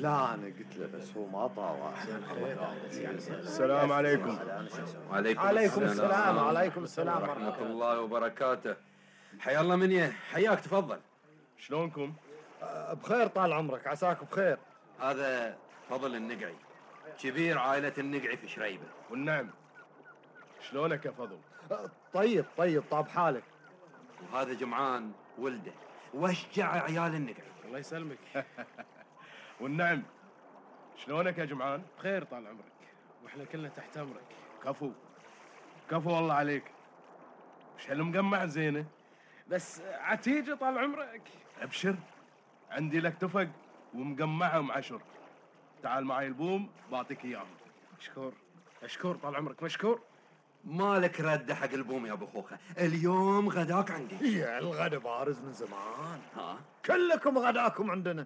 لا أنا قلت له بس هو ما طاوع. السلام عليكم. عليكم السلام. وعليكم السلام ورحمة الله وبركاته. حيا الله منيه. حياك تفضل. شلونكم؟ بخير طال عمرك. عساك بخير. هذا فضل النقعي، كبير عائلة النقعي في شريبة. والنعم. شلونك يا فضل؟ طيب طاب حالك. وهذا جمعان ولده واشجع عيال النقعي. الله يسلمك. والنعم. شلونك يا جمعان؟ بخير طال عمرك، واحنا كلنا تحت امرك. كفو والله عليك. وش هالمقمع زينه؟ بس عتيجة طال عمرك. ابشر، عندي لك تفق ومقمعة ومعشر. تعال معي البوم بعطيك اياهم. مشكور طال عمرك مشكور. مالك رد حق البوم يا ابو خوخه، اليوم غداك عندي. يا الغدا بارز من زمان. ها كلكم غداكم عندنا.